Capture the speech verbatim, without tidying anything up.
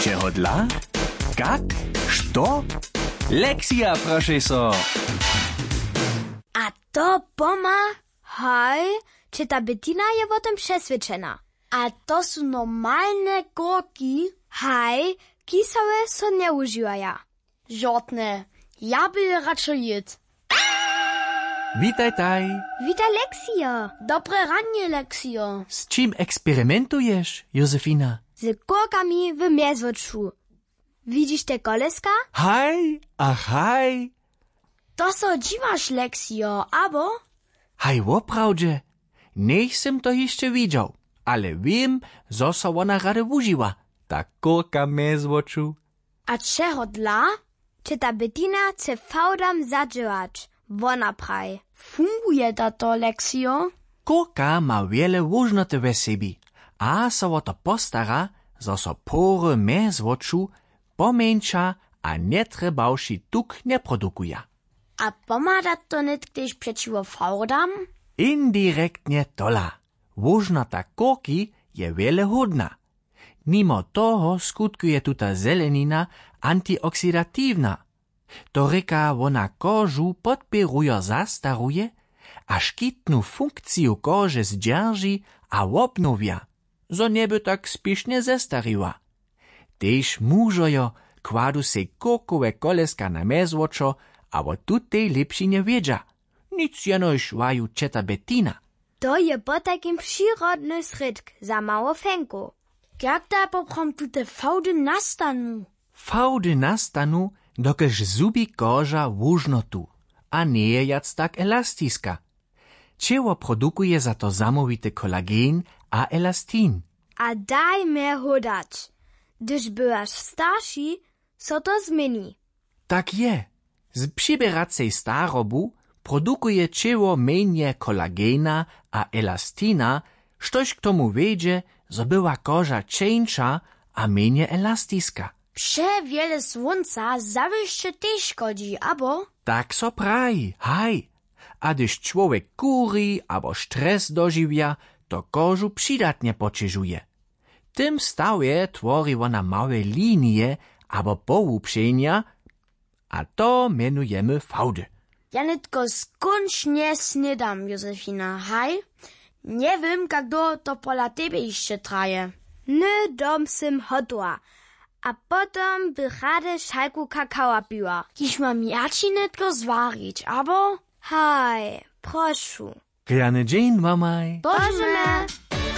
Čehodla? Kak? Što? Lexija prošej so. A to poma? Haj, četa betina je wo tym přeswědčena. A to su normalne korki? Haj, kisowe so njewužiwaja. Žortne, ja by je radšo jěd. Witajtaj. Witaj, Leksijo. Dobre ranje, Leksijo. Z čim eksperimentuješ, Josefina? Z korkami w mjezwoču. Widźiš te koleska? Haj, ach haj. To so dźiwaš, Leksijo, abo? Haj, woprawdźe. Njech sym to hišće widźał, ale wěm, zo so wona rady wužiwa, ta korka mjezwoču. A čehodla? Četa betina chce fałdam zadźěłać. Wona praji. Funguje da to, Leksijo? Korka ma wjele łóžnoty we sebi a so wo to postara, zo so pory mjezwoču pomjeńša a njetrjebawši tuk njeprodukuja. A pomha da to nětk tež přećiwo fałdam? Indirektnje tola. Łóžnota korki je wjele hódna. Nimo toho skutkuje tuta zelenina antioksidatiwna. To rěka, wona kožu podpěrujo zastaruje a škitnu funkciju kože zdźerži a wobnowja, zo njeby tak spěšnje zestariła. Tež mužojo kładu sej kókowe koleska na mjezwočo a wo tutej lěpšinje wědźa. Nic jenož waju četa betina. To je potajkim přirodny srědk za mało fenkow. Kak da poprawom tute fałdy nastanu? Fałdy nastanu, dokelž zhubi koža łóžnotu a njeje wjac tak elastiska. Ćěło produkuje za to zamołwity kolagen a elastin. A daj mje hódać, hdyž bywaš starši, so to změni. Tak je. Z přiběracej starobu produkuje ćěło mjenje kolagena a elastina, štož k tomu wjedźe, zo była koža ćeńša a mjenje elastiska. Přewjele słónca zawěsće tež škodźi, abo? Tak so praji, haj. A hdyž čłowjek kuri abo stres dožiwja, to kožu přidatnje poćežuje. W tym stawje twori wona małe linije abo pohłubšenja, a to mjenujemy fałdy. Ja nětko skónčnje snědam, Josefina, haj. Njewěm, kak dołho to pola tebje hišće traje. Hnydom sym hotowa. A potom bych rady šalku kakawa piła. Kiž mam ja ći nětko zwarić, abo? Haj, prošu. Rjany dźeń wamaj. Božemy.